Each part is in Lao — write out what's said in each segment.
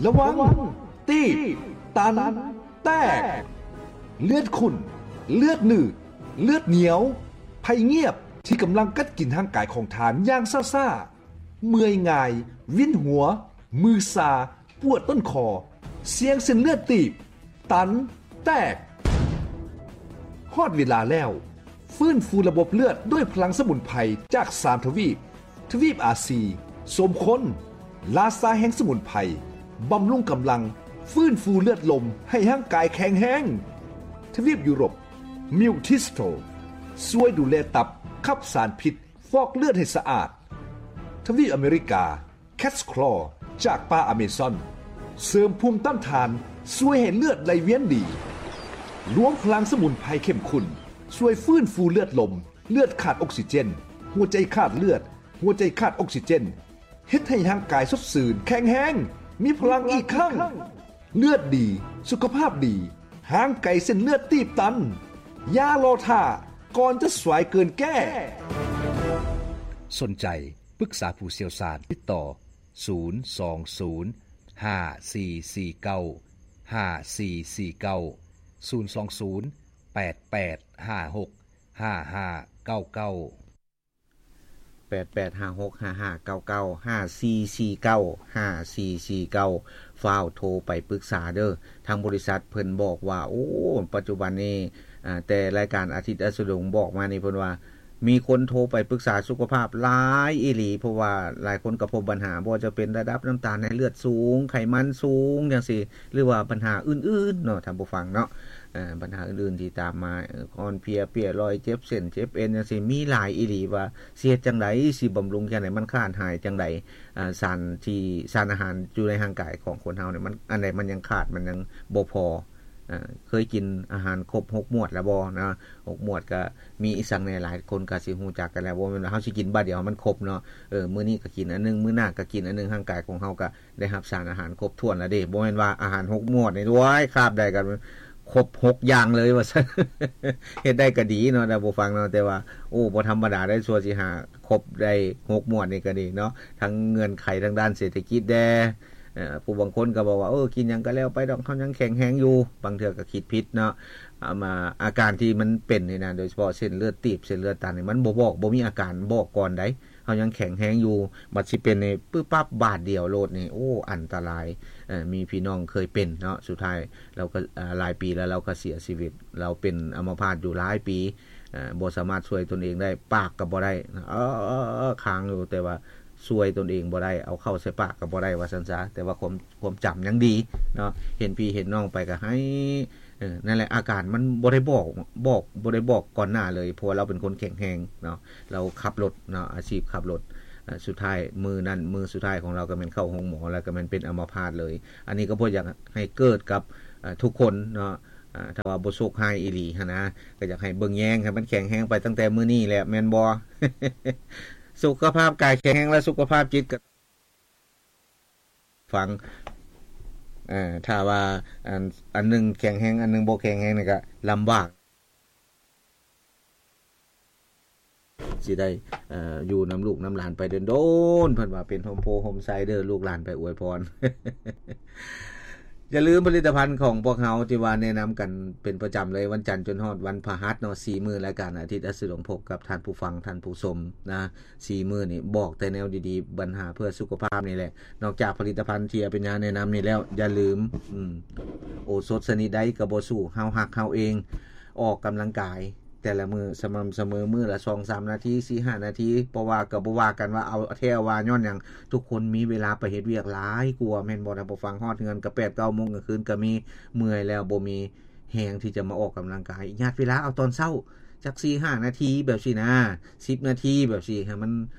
ລະວັງ ຕີບ ຕັນ ແຕກ ເລືອດຂຸ້ນ ເລືອດໜືດ ເລືອດໜຽວ ໄພງຽບທີ່ກຳລັງກັດກິນຮ່າງກາຍຂອງທ່ານຢ່າງຊ້າໆ, ເມື່ອຍງ່າຍ, ວິນຫົວ, ມືຊາ, ປວດຕົ້ນຄໍ, ສ່ຽງເສັ້ນເລືອດຕີບ, ຕັນ, ແຕກ. ຮອດເວລາແລ້ວ, ຟື້ນຟູລະບົບເລືອດດ້ວຍພະລັງສະໝຸນໄພຈາກສາມທະວີບ, ທະວີບອາຊີ, ສົມຄົນ, ລາຊາແຫ່ງສະໝຸນໄພ, ບຳລຸງກຳລັງ, ຟື້ນຟູເລືອດລົມໃຫ້ຮ່າງກາຍແຂງແຮງ. ທະວີບຢູໂຣບ, ມິວທິສໂຕ, ຊ່ວຍດູແລຕັບ, ຂັບສານພິດ, ຟອກເລືອດໃຫ້ສະອາດ. ທະວີບອາເມລິກາ, ແຄດສະຄລໍຈາກປ່າອາເມຊອນ ເສີມພູມຕ້ານທານ, ຊ່ວຍໃຫ້ເລືອດໄຫຼວຽນດີ. ລວມພະລັງສະໝຸນໄພເຂັ້ມຂຸ້ນ ຊ່ວຍຟື້ນຟູເລືອດລົມ, ເລືອດຂາດອົກຊີເຈນ, ຫົວໃຈຂາດເລືອດ, ຫົວໃຈຂາດອົກຊີເຈນ, ເຮັດໃຫ້ຮ່າງກາຍສົດຊື່ນ, ແຂງແຮງ, ມີພະລັງອີກຄັ້ງ. ເລືອດດີ, ສຸຂະພາບດີ, ຫ່າງໄກເສັ້ນເລືອດຕີບຕັນ. ຢ່າລໍຖ້າ, ກ່ອນຈະສາຍເກີນແກ້. ສົນໃຈ ປຶກສາຜູ້ຊ່ຽວຊານ, ຕິດຕໍ່ ສູນສອງສູນ ຫ້າສີ່ສີ່ເກົ້າ ຫ້າສີ່ສີ່ເກົ້າ ສູນສອງສູນ ແປດແປດຫ້າຫົກ ຫ້າຫ້າເກົ້າເກົ້າ. ແປດແປດຫ້າຫົກ ຫ້າຫ້າເກົ້າເກົ້າ ຫ້າສີ່ສີ່ເກົ້າ ຫ້າສີ່ສີ່ເກົ້າ. ຟ້າວໂທໄປປຶກສາເດີ້. ທາງບໍລິສັດເພິ່ນບອກວ່າ ໂອ້ ປັດຈຸບັນນີ້ ອາ ແຕ່ລາຍການອາທິດອັດສະດົງບອກມານີ້ ເພິ່ນວ່າມີຄົນໂທໄປປຶກສາສຸຂະພາບຫຼາຍອີ່ຫຼີ, ເພາະວ່າຫຼາຍຄົນກໍພົບບັນຫາ ບໍ່ວ່າຈະເປັນລະດັບນ້ຳຕານໃນເລືອດສູງ, ໄຂມັນສູງ ຈັ່ງຊີ້ ຫຼືວ່າບັນຫາອື່ນໆເນາະ ທ່ານຜູ້ຟັງເນາະ. ເອີ ບັນຫາອື່ນໆທີ່ຕາມມາ ເອີ ອ່ອນເພຍ, ເປຍລອຍ, ເຈັບເສັ້ນເຈັບເອັນ ຈັ່ງຊີ້ ມີຫຼາຍອີ່ຫຼີ ວ່າຊິເຮັດຈັ່ງໃດ, ຊິບຳລຸງຈັ່ງໃດ, ມັນຂາດຫາຍຈັ່ງໃດ. ອາ ສານທີ່ ສານອາຫານຢູ່ໃນຮ່າງກາຍຂອງຄົນເຮົານີ້ ມັນ ອັນໃດມັນຍັງຂາດ, ມັນຍັງບໍ່ພໍ. ເອີ ເຄີຍກິນອາຫານຄົບຫົກໝວດແລ້ວບໍ່ນະ? ຫົກໝວດກໍມີອີ່ສັງແດ່? ຫຼາຍຄົນກໍຊິຮູ້ຈັກກັນແລ້ວ, ບໍ່ແມ່ນວ່າເຮົາຊິກິນບາດດຽວໃຫ້ມັນຄົບເນາະ. ເອີ ມື້ນີ້ກໍກິນອັນໜຶ່ງ, ມື້ໜ້າກໍກິນອັນໜຶ່ງ, ຮ່າງກາຍຂອງເຮົາກໍ ໄດ້ຮັບສານອາຫານຄົບຖ້ວນແລ້ວເດ້. ບໍ່ແມ່ນວ່າອາຫານຫົກໝວດນີ້ ໂອ້ຍ ຄາບໃດກໍຄົບຫົກຢ່າງເລີຍວ່າຊັ້ນ. ເຮັດໄດ້ກໍດີເນາະ ທ່ານຜູ້ຟັງເນາະ, ແຕ່ວ່າ ໂອ້ ບໍ່ທຳມະດາໄດ໋ ຊົ່ວຊິຫາຄົບໄດ້ຫົກໝວດນີ້ກໍດີເນາະ. ທັງເງື່ອນໄຂທາງດ້ານເສດຖະກິດແດ່, ເອີ ຜູ້ບາງຄົນກໍບອກວ່າ ເອີ ກິນຫຍັງກໍແລ້ວໄປດອກ, ເຮົາຍັງແຂງແຮງຢູ່. ບາງເທື່ອກໍຄິດຜິດເນາະ. ອາ ມາ ອາການທີ່ມັນເປັນນີ້ນະ, ໂດຍສະເພາະເສັ້ນເລືອດຕີບ, ເສັ້ນເລືອດຕັນນີ້ ມັນບໍ່ບອກ, ບໍ່ມີອາການບອກກ່ອນໃດ. ເຮົາຍັງແຂງແຮງຢູ່, ບັດຊິເປັນນີ້ປຶບປັບບາດດຽວໂລດນີ້ ໂອ້ ອັນຕະລາຍ. ເອີ ມີພີ່ນ້ອງເຄີຍເປັນເນາະ, ສຸດທ້າຍລາວກໍ ອາ ຫຼາຍປີແລ້ວລາວກໍເສຍຊີວິດ, ລາວເປັນອຳມະພາດຢູ່ຫຼາຍປີ, ເອີ ບໍ່ສາມາດຊ່ວຍຕົນເອງໄດ້, ປາກກໍບໍ່ໄດ້, ເອີ ຄ້າງຢູ່, ແຕ່ວ່າຊ່ວຍຕົນເອງບໍ່ໄດ້, ເອົາເຂົ້າໃສ່ປາກກໍບໍ່ໄດ້ວ່າຊັ້ນຊະ, ແຕ່ວ່າຄວາມ ຄວາມຈຳຍັງດີເນາະ, ເຫັນພີ່ເຫັນນ້ອງໄປກໍໄຫ້. ເອີ ນັ້ນແຫຼະ ອາການມັນບໍ່ໄດ້ບອກ ບອກ ບໍ່ໄດ້ບອກກ່ອນໜ້າເລີຍ, ເພາະວ່າລາວເປັນຄົນແຂງແຮງເນາະ, ລາວຂັບລົດເນາະ, ອາຊີບຂັບລົດ. ເອີ ສຸດທ້າຍມື້ນັ້ນ ມື້ສຸດທ້າຍຂອງລາວກໍແມ່ນເຂົ້າໂຮງໝໍ ແລ້ວກໍແມ່ນເປັນອຳມະພາດເລີຍ. ອັນນີ້ກໍບໍ່ຢາກໃຫ້ເກີດກັບ ເອີ ທຸກຄົນເນາະ, ເອີ ຖ້າວ່າບໍ່ໂຊກຮ້າຍອີ່ຫຼີຫັ້ນນະ, ກໍຢາກໃຫ້ເບິ່ງແຍງໃຫ້ມັນແຂງແຮງໄປຕັ້ງແຕ່ມື້ນີ້ແຫຼະ ແມ່ນບໍ່? ສຸຂະພາບກາຍແຂງແຮງ ແລະ ສຸຂະພາບຈິດກໍ ຟັງ ເອີ ຖ້າວ່າ ອັນ ອັນໜຶ່ງແຂງແຮງ ອັນໜຶ່ງບໍ່ແຂງແຮງນີ້ກະລຳບາກ ຊິໄດ້ ເອີ ຢູ່ນຳລູກນຳຫຼານໄປດົນໆ. ເພິ່ນວ່າເປັນຮົ່ມໂພຮົ່ມໄຊເດີ້ ລູກຫຼານໄປອວຍພອນ. ຢ່າລືມຜະລິດຕະພັນຂອງພວກເຮົາທີ່ວ່າແນະນຳກັນເປັນປະຈຳເລີຍ ວັນຈັນຈົນຮອດວັນພະຫັດເນາະ, ສີ່ມື້ລາຍການອາທິດອັດສະດົງ ພົບກັບທ່ານຜູ້ຟັງ ທ່ານຜູ້ຊົມນະ. ສີ່ມື້ນີ້ບອກແຕ່ແນວດີໆ ບັນຫາເພື່ອສຸຂະພາບນີ້ແຫຼະ. ນອກຈາກຜະລິດຕະພັນທີ່ອາເປັນຍາແນະນຳນີ້ແລ້ວ ຢ່າລືມ ອືມ ໂອສົດຊະນິດໃດກໍບໍ່ສູ້ເຮົາຮັກເຮົາເອງ. ອອກກຳລັງກາຍແຕ່ລະມື້ສະໝ່ຳສະເໝີ ມື້ລະສອງສາມນາທີ ສີ່ຫ້ານາທີ, ບໍ່ວ່າກໍບໍ່ວ່າກັນວ່າເອົາແທ້ເອົາວ່າຍ້ອນຫຍັງ, ທຸກຄົນມີເວລາໄປເຮັດວຽກຫຼາຍກວ່າ ແມ່ນບໍ່ທ່ານຜູ້ຟັງ? ຮອດເຮືອນກໍແປດເກົ້າໂມງກາງຄືນກໍມີ, ເມື່ອຍແລ້ວບໍ່ມີ ແຮງທີ່ຈະມາອອກກຳລັງກາຍ, ຍັດເວລາເອົາຕອນເຊົ້າຈັກສີ່ຫ້ານາທີແບບຊີ້ນະ, ສິບນາທີແບບຊີ້ ໃຫ້ມັນ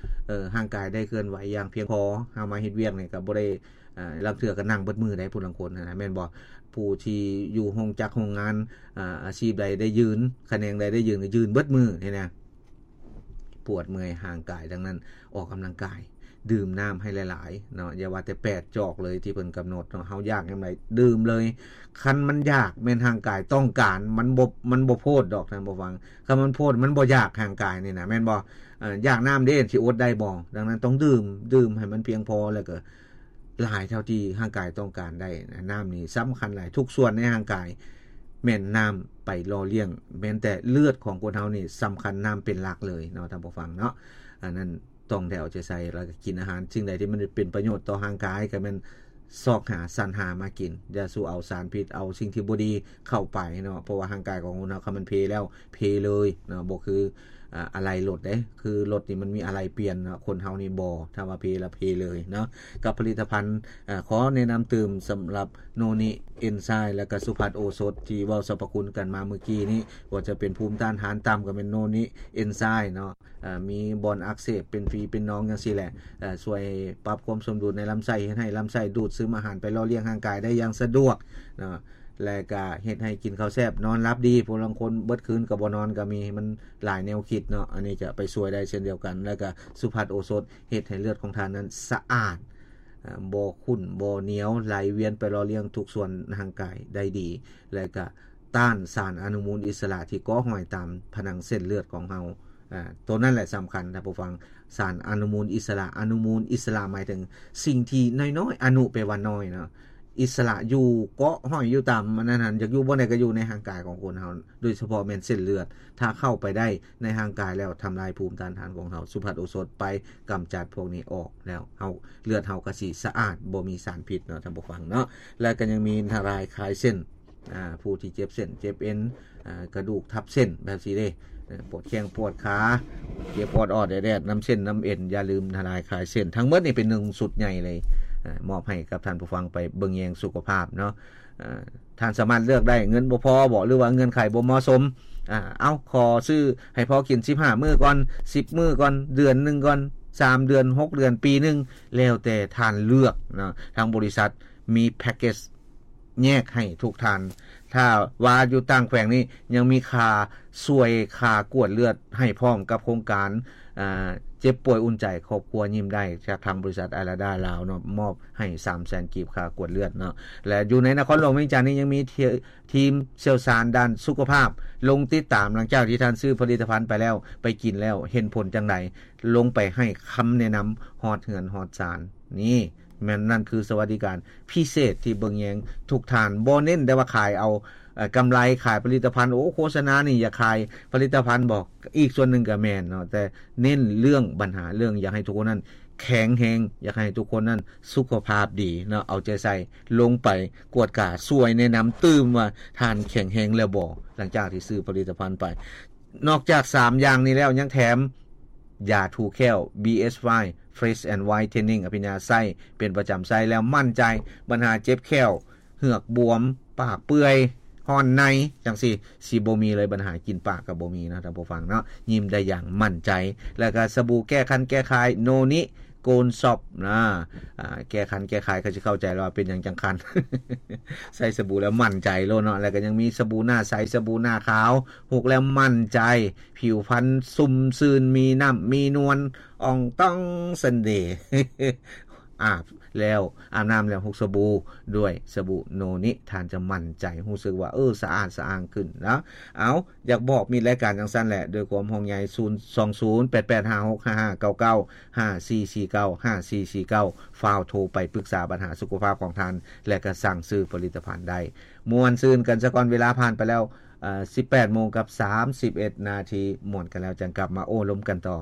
ເອີ ຮ່າງກາຍໄດ້ເຄື່ອນໄຫວຢ່າງພຽງພໍ. ເຮົາມາເຮັດວຽກນີ້ກໍບໍ່ໄດ້ ເອີ ລາງເທື່ອກໍນັ່ງເບິດມື້ໄດ໋ ຜູ້ລາງຄົນຫັ້ນນະ ແມ່ນບໍ່? ຜູ້ທີ່ຢູ່ໂຮງຈັກໂຮງງານ ອາ ອາຊີບໃດໄດ້ຢືນ ຂະແໜງໃດໄດ້ຢືນ ກໍຢືນເບິດມື້ນີ້ນະ. ປວດເມື່ອຍຮ່າງກາຍທັງນັ້ນ, ອອກກຳລັງກາຍ, ດື່ມນ້ຳໃຫ້ຫຼາຍໆເນາະ, ຢ່າວ່າແຕ່ແປດຈອກເລີຍທີ່ເພິ່ນກຳນົດເນາະ, ເຮົາຢາກຍາມໃດດື່ມເລີຍ. ຄັນມັນຢາກແມ່ນຮ່າງກາຍຕ້ອງການ, ມັນບໍ່ ມັນບໍ່ໂພດດອກທ່ານຜູ້ຟັງ, ຄັນມັນໂພດມັນບໍ່ຢາກຮ່າງກາຍນີ້ນະ ແມ່ນບໍ່? ເອີ ຢາກນ້ຳເດ້ ຊິອົດໄດ້ບໍ່? ດັ່ງນັ້ນຕ້ອງດື່ມ, ດື່ມໃຫ້ມັນພຽງພໍ ແລ້ວກໍ ຫຼາຍເທົ່າທີ່ຮ່າງກາຍຕ້ອງການໄດ້. ນ້ຳນີ້ສຳຄັນຫຼາຍ, ທຸກສ່ວນໃນຮ່າງກາຍແມ່ນນ້ຳໄປຫຼໍ່ລ້ຽງ, ແມ່ນແຕ່ເລືອດຂອງຄົນເຮົານີ້ສຳຄັນ, ນ້ຳເປັນຫຼັກເລີຍເນາະ ທ່ານຜູ້ຟັງເນາະ. ອັນນັ້ນ ຕ້ອງໄດ້ເອົາໃຈໃສ່ ແລ້ວກໍກິນອາຫານສິ່ງໃດທີ່ມັນເປັນປະໂຫຍດຕໍ່ຮ່າງກາຍ ກໍແມ່ນຊອກຫາ ສັນຫາມາກິນ. ຢ່າສູ່ເອົາສານພິດ ເອົາສິ່ງທີ່ບໍ່ດີເຂົ້າໄປເນາະ, ເພາະວ່າຮ່າງກາຍຂອງຄົນເຮົາ ຄັນມັນເພແລ້ວ ເພເລີຍເນາະ, ບໍ່ຄື ອາ ອາໄຫຼ່ລົດເດ້. ຄືລົດນີ້ມັນມີອາໄຫຼ່ປ່ຽນເນາະ, ຄົນເຮົານີ້ບໍ່, ຖ້າວ່າເພແລ້ວເພເລີຍເນາະ. ກັບຜະລິດຕະພັນ ອາ ຂໍແນະນຳຕື່ມສຳລັບໂນນິເອນໄຊ ແລະກະສຸພັດໂອສົດ ທີ່ເວົ້າສັບພະຄຸນກັນມາເມື່ອກີ້ນີ້, ວ່າຈະເປັນພູມຕ້ານທານຕ່ຳ ກໍແມ່ນໂນນິເອນໄຊເນາະ. ເອີ ມີບ່ອນອັກເສບເປັນຝີເປັນໜອງຈັ່ງຊີ້ແຫຼະ, ເອີ ຊ່ວຍປັບຄວາມສົມດຸນໃນລຳໄສ້ ເຮັດໃຫ້ລຳໄສ້ດູດຊຶມອາຫານໄປຫຼໍ່ລ້ຽງຮ່າງກາຍໄດ້ຢ່າງສະດວກເນາະ, ແລະກະເຮັດໃຫ້ກິນເຂົ້າແຊບ ນອນຫຼັບດີ. ຜູ້ລາງຄົນເບິດຄືນກໍບໍ່ນອນກໍມີ, ມັນຫຼາຍແນວຄິດເນາະ, ອັນນີ້ຈະໄປຊ່ວຍໄດ້ເຊັ່ນດຽວກັນ. ແລະກະສຸພັດໂອສົດ ເຮັດໃຫ້ເລືອດຂອງທ່ານນັ້ນສະອາດ, ເອີ ບໍ່ຂຸ້ນບໍ່ໜຽວ, ໄຫຼວຽນໄປຫຼໍ່ລ້ຽງທຸກສ່ວນຮ່າງກາຍໄດ້ດີ, ແລະກະຕ້ານສານອະນຸມູນອິດສະຫຼະທີ່ເກາະຫ້ອຍຕາມຜະໜັງເສັ້ນເລືອດຂອງເຮົາ. ອາ ໂຕນັ້ນແຫຼະສຳຄັນ ທ່ານຜູ້ຟັງ, ສານອະນຸມູນອິດສະຫຼະ. ອະນຸມູນອິດສະຫຼະໝາຍເຖິງສິ່ງທີ່ນ້ອຍໆ, ອະນຸແປວ່ານ້ອຍເນາະ, ອິດສະຫຼະຢູ່ເກາະຫ້ອຍຢູ່ຕາມອັນນັ້ນຫັ້ນ, ຢາກຢູ່ບ່ອນໃດກໍຢູ່ໃນຮ່າງກາຍຂອງຄົນເຮົາ, ໂດຍສະເພາະແມ່ນເສັ້ນເລືອດ. ຖ້າເຂົ້າໄປໄດ້ໃນຮ່າງກາຍແລ້ວ ທຳລາຍພູມຕ້ານທານຂອງເຮົາ, ສຸພັດໂອສົດໄປກຳຈັດພວກນີ້ອອກແລ້ວ, ເຮົາ ເລືອດເຮົາກໍຊິສະອາດ, ບໍ່ມີສານພິດເນາະ ທ່ານຜູ້ຟັງເນາະ. ແລະກໍຍັງມີທະລາຍຄາຍເສັ້ນ ອາ ຜູ້ທີ່ເຈັບເສັ້ນເຈັບເອັນ ອາ ກະດູກທັບເສັ້ນແບບຊີ້ເດ້, ເອີ ປວດແຂ້ງປວດຂາ ເຈັບປວດອອດແອດໆ ນຳເສັ້ນນຳເອັນ, ຢ່າລືມທະລາຍຄາຍເສັ້ນ. ທັງໝົດນີ້ເປັນໜຶ່ງຊຸດໃຫຍ່ເລີຍ, ເອີ ມອບໃຫ້ກັບທ່ານຜູ້ຟັງໄປເບິ່ງແຍງສຸຂະພາບເນາະ. ເອີ ທ່ານສາມາດເລືອກໄດ້, ເງິນບໍ່ພໍບໍ ຫຼືວ່າເງື່ອນໄຂບໍ່ເໝາະສົມ, ອາ ເອົາ ຂໍຊື້ໃຫ້ພໍກິນສິບຫ້າມື້ກ່ອນ, ສິບມື້ກ່ອນ, ເດືອນໜຶ່ງກ່ອນ, ສາມເດືອນ, ຫົກເດືອນ, ປີໜຶ່ງ, ແລ້ວແຕ່ທ່ານເລືອກເນາະ. ທາງບໍລິສັດມີແພັກເກັດ ແຍກໃຫ້ທຸກທ່ານ. ຖ້າວ່າຢູ່ຕ່າງແຂວງນີ້ ຍັງມີຄ່າຊ່ວຍຄ່າກວດເລືອດໃຫ້ພ້ອມກັບໂຄງການ ອາ ເຈັບປ່ວຍອຸ່ນໃຈ ຄອບຄົວຍິ້ມໄດ້ ຈາກທາງບໍລິສັດອາລາດາລາວເນາະ, ມອບໃຫ້ສາມແສນກີບຄ່າກວດເລືອດເນາະ. ແລະຢູ່ໃນນະຄອນຫຼວງວຽງຈັນນີ້ ຍັງມີທີ ທີມຊ່ຽວຊານດ້ານສຸຂະພາບລົງຕິດຕາມ ຫຼັງຈາກທີ່ທ່ານຊື້ຜະລິດຕະພັນໄປແລ້ວ, ໄປກິນແລ້ວ ເຫັນຜົນຈັ່ງໃດ, ລົງໄປໃຫ້ຄຳແນະນຳຮອດເຮືອນຮອດຊານ. ນີ້ ແມ່ນ ນັ້ນຄືສະຫວັດດີການພິເສດທີ່ເບິ່ງແຍງທຸກທ່ານ, ບໍ່ເນັ້ນແຕ່ວ່າຂາຍເອົາ ເອີ ກຳໄລ, ຂາຍຜະລິດຕະພັນ, ໂອ້ ໂຄສະນານີ້ຢາກຂາຍຜະລິດຕະພັນບໍ? ອີກສ່ວນໜຶ່ງກໍແມ່ນເນາະ, ແຕ່ເນັ້ນເລື່ອງບັນຫາ ເລື່ອງຢາກໃຫ້ທຸກຄົນນັ້ນແຂງແຮງ, ຢາກໃຫ້ທຸກຄົນນັ້ນສຸຂະພາບດີເນາະ, ເອົາໃຈໃສ່, ລົງໄປກວດກາ, ຊ່ວຍແນະນຳຕື່ມວ່າທ່ານແຂງແຮງແລ້ວບໍ່ ຫຼັງຈາກທີ່ຊື້ຜະລິດຕະພັນໄປ. ນອກຈາກສາມຢ່າງນີ້ແລ້ວ ຍັງແຖມຢາຖູແຂ້ວ ບີເອສວາຍ Fresh and Whitening ອະພິນຍາໃຊ້ເປັນປະຈຳ, ໃຊ້ແລ້ວໝັ້ນໃຈ, ບັນຫາເຈັບແຂ້ວ, ເຫືອກບວມ, ປາກເປື່ອຍ, ຮ້ອນໃນ ຈັ່ງຊີ້ ຊິບໍ່ມີເລີຍ, ບັນຫາກິນປາກກໍບໍ່ມີເນາະ ທ່ານຜູ້ຟັງເນາະ, ຍິ້ມໄດ້ຢ່າງໝັ້ນໃຈ. ແລ້ວກໍສະບູແກ້ຄັນແກ້ຄາຍ ໂນນິ ໂກນຊອບນະ ອາ ແກ້ຄັນແກ້ຄາຍ ກໍຊິເຂົ້າໃຈແລ້ວວ່າເປັນຫຍັງຈັ່ງຄັນ ໃຊ້ສະບູແລ້ວໝັ້ນໃຈໂລດເນາະ. ແລ້ວກໍຍັງມີສະບູໜ້າໃສ, ສະບູໜ້າຂາວ, ຮຸກແລ້ວໝັ້ນໃຈ, ຜິວພັນຊຸ່ມຊື່ນ, ມີນ້ຳມີນວນ, ອ່ອງຕ່ອງສະເໜ່. ອາບແລ້ວ ອາບນ້ຳແລ້ວ ຮຸກສະບູດ້ວຍສະບູໂນນິ ທ່ານຈະໝັ້ນໃຈ, ຮູ້ສຶກວ່າ ເອີ ສະອາດສະອ້າງຂຶ້ນນະ. ເອົາ ຢາກບອກມິດລາຍການຈັ່ງຊັ້ນແຫຼະ ດ້ວຍຄວາມຫ່ວງໃຍ ສູນສອງສູນ ແປດແປດຫ້າຫົກຫ້າຫ້າເກົ້າເກົ້າ ຫ້າສີ່ສີ່ເກົ້າ ຫ້າສີ່ສີ່ເກົ້າ ຟ້າວໂທໄປປຶກສາບັນຫາສຸຂະພາບຂອງທ່ານ ແລະ ກໍສັ່ງຊື້ຜະລິດຕະພັນໄດ້. ມ່ວນຊື່ນກັນສາກ່ອນ, ເວລາຜ່ານໄປແລ້ວ ເອີ ສິບແປດໂມງກັບສາມສິບເອັດນາທີ, ມ່ວນກັນແລ້ວຈັ່ງກັບມາໂອ້ລົມກັນຕໍ່.